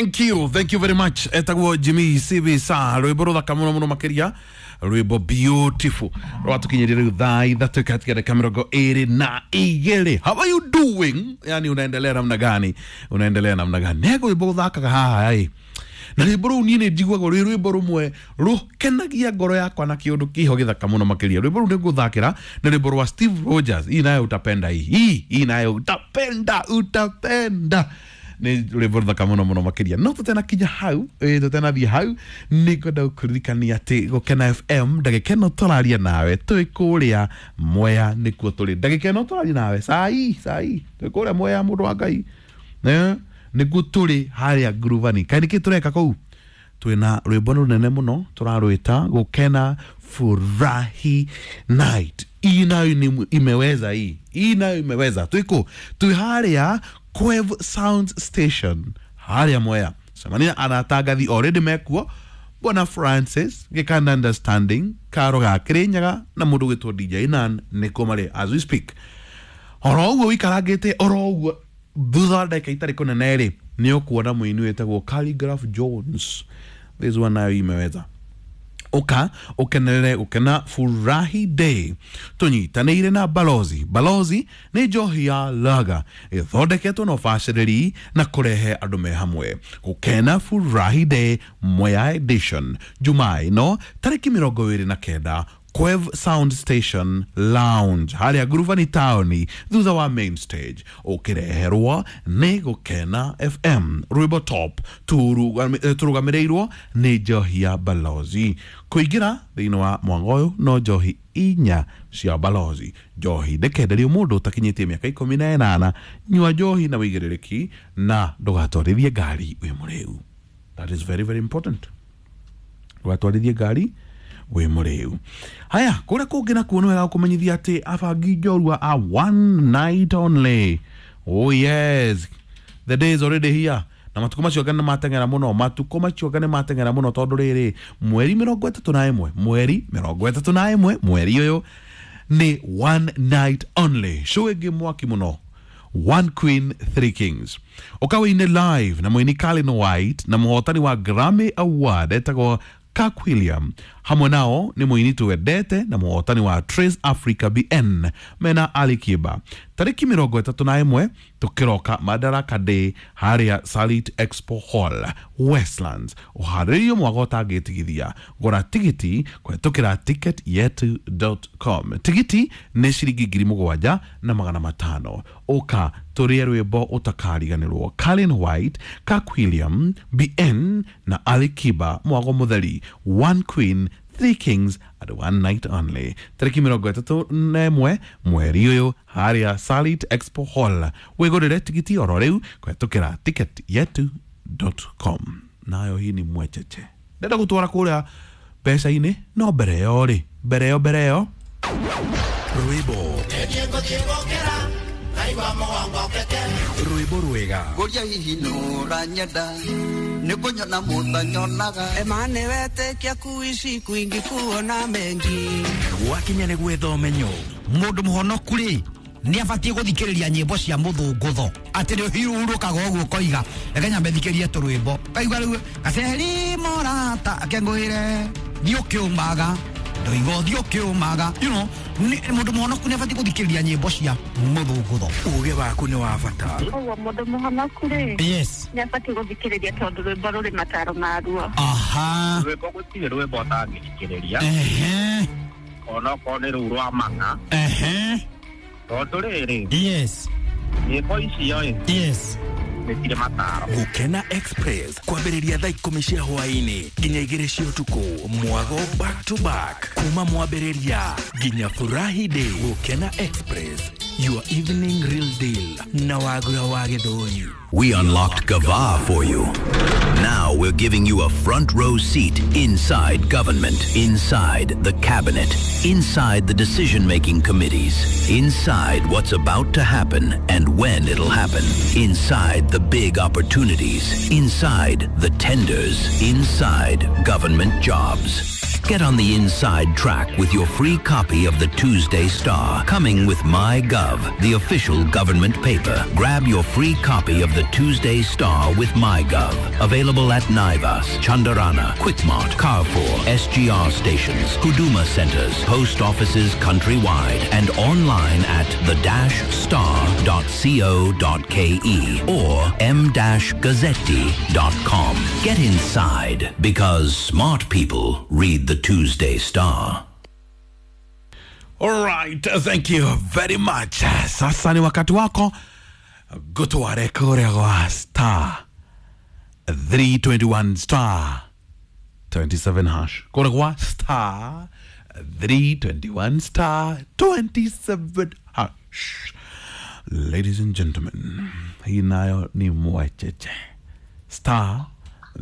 Thank you, thank you very much. Etagwo Jimmy CV sa rwimbo ruthaka muno muno makiria, rwimbo beautiful rwatukinyirie riu thaa 3 katika dakika 22. How are you doing? Yani unaendelea namna gani? Unaendelea namna gani? Nego rwimbo ruthakaga haha ai na rwimbo rũu niĩ nĩ njiguaga rwĩ rwĩmbo rũmwe rũkenagia ngoro yakwa na kĩũndũ kĩho gĩthaka mũno makĩria. Rwĩmbo rũu nĩ ngũthakĩra nĩ rwĩmbo rwa Steve Rogers. Hii nayo utapenda, hii hii nayo utapenda, utapenda. Nĩ rwĩmbo rũthaka mũno mũno makĩria. No tũtenakinya hau, tũtenathiĩ hau, nĩ ngwenda gũkũririkania atĩ Gũkena FM ndagĩka ĩno tũraria nawe twĩ kũrĩa Mwea, nĩkuo tũrĩ. Ndagĩka ĩno tũraria nawe sai sai twĩ kũrĩa Mwea, mũndũ wa Ngai, nĩguo tũrĩ harĩa Nguruvani. Kaĩ nĩkĩ tũreka kũu? Twĩna rwĩmbo rũnene mũno tũrarwĩta Gũkena Furahi Night. Hii nayo ni imeweza, hii hii nayo imeweza. Twĩkũ? Twĩ harĩa Kwev Sound Station harĩa Mwea. Cemania anatangathi already mekuo, Bwana Francis Gikanda Understanding Karo ga Kirinyaga na mũndũ gwĩtwo DJ Nan nĩkuo marĩ as we speak. Oro ũguo wĩikarangĩte oro ũguo thutha wa ndagĩka itarĩ kũnene rĩ, nĩ ũkuona mũini wĩtagwo Calligraph Jones. This one nayo imeweza. Ũka ũkenerere Gũkena Furahi Day tũnyitanĩire na Balozi. Balozi nĩ njohi ya lager ĩthondeketwo na ũbacĩrĩri na kũrehe andũ me hamwe. Gũkena Furahi Day Mwea Edition, Jumaa ĩno tarĩki 29, Kwev Sound Station Lounge harĩa Nguruvani taũni thutha wa main stage, ũkĩreherwo nĩ Gũkena FM. Rwĩmbo top tũrũgamĩrĩirwo nĩ njohi ya Balozi. Kũingĩra thĩinĩ wa mwango ũyũ no njohi 4 cia Balozi. Njohi ndĩkenderio mũndũ ũtakinyĩtie mĩaka 18. Nyua njohi na wĩigĩrĩrĩki na ndũgatwarithie ngari wĩ mũrĩu. That is very very important. Ndũgatwarithie ngari wĩ mũrĩu. Haya, kũrĩa kũngĩ nakuo nĩ wega gũkũmenyithia atĩ abangi njorua a one night only. Oh yes, the day is already here. Na matukũ macio anga nĩ mateng'era mũno, matukũ macio anga nĩ mateng'era mũno, tondũ rĩrĩ mweri 31, mweri 31, mweri ũyũ nĩ one night only show ĩngĩ mwaki mũno, One Queen, Three Kings. Ũka wĩine live na mũini Kalin White na mũhotani wa Grammy Award etagwo Kirk William. Hamwe nao nĩ mũini twendete na mũhotani wa Trace Africa BN mena Ali Kiba. Tarĩki 31 tũkĩroka Madaraka Day harĩa Salit Expo Hall Westlands. Ũharĩrĩrio mwaga ũtangĩtigithia. Gũra tigiti kũhetũkĩra ticketyetu.com. Tigiti nĩ ciringi 7,500. Ũka tũrĩe rwĩmbo ũtakariganĩrwo. Kalin White, Kirk William, BN na Ali Kiba, mwago mũtheri. One Queen, Three Kings at one night only. Tarĩki 31 mweri ũyũ harĩa Salit Expo Hall. Wĩgũrĩre tigiti oro rĩu kũhetũkĩra ticketyetu.com. Nayo hii ni mwecheche. Ndenda gũtwara kũrĩa mbeca-inĩ, no mbere ĩyo rĩ, mbere ĩyo mbere ĩyo Rwĩmbo rwĩmbo rwega Ngũria hihi nũranyenda nĩ kũnyona mũtanyonaga Emane wetĩkia kuishi kwingi kuona mengi. Gwakinya nĩ gwetha ũmenyo. Mũndũ mũhonoku rĩ nĩ abatiĩ gũthikĩrĩria nyĩmbo cia mũthũngũtho atĩ nĩ ũhurũkaga ũguo ũkoiga reke nyambe thikĩrie tũrwĩmbo kaigua rĩu gaceri morata akengũĩre thiĩ ũkĩũmaga ndoiga ũthiĩ ũkĩũmaga, you know, mũndũ mũhonoku nĩ abatiĩ gũthikĩrĩria nyĩmbo cia mũthũngũtho. Ũgĩ waku nĩ wa bata. Ũguo mũndũ mũhonoku rĩ, yes, nĩ abatiĩ gũthikĩrĩria tondũ rwĩmbo rũrĩ mataro maruo. Aha. Rwĩmbo gũtirĩ rwĩmbo ũtangĩthikĩrĩria. Ehe. Onokorwo nĩ rũu rwa mang'a. Ehe. Tondũ rĩrĩ, yes, nyĩmbo icio ĩ, yes, nĩ cirĩ mataro. Gũkena Express kwambĩrĩria thaa 10 cia hwaĩ-inĩ nginya 2 cia ũtukũ, mwago back to back kuma mwambĩrĩria nginya Furahi Day. Gũkena Express, your evening real deal na Wagura wa Gĩthũri. We unlocked Gava for you. Now we're giving you a front row seat inside government, inside the cabinet, inside the decision-making committees, inside what's about to happen and when it'll happen, inside the big opportunities, inside the tenders, inside government jobs. Get on the inside track with your free copy of the Tuesday Star, coming with MyGov, the official government paper. Grab your free copy of the Tuesday Star with MyGov. Available at Naivas, Chandarana, Quickmart, Carrefour, SGR stations, Huduma centers, post offices countrywide, and online at the-star.co.ke or m-gazzetti.com. Get inside because smart people read the Tuesday Star. All right, thank you very much. Sasa ni wakati wako gutware kuria gwa star 321 star 27 hash, kuria gwa star 321 star 27 hash. Ladies and gentlemen, hii nayo ni mwecheche, star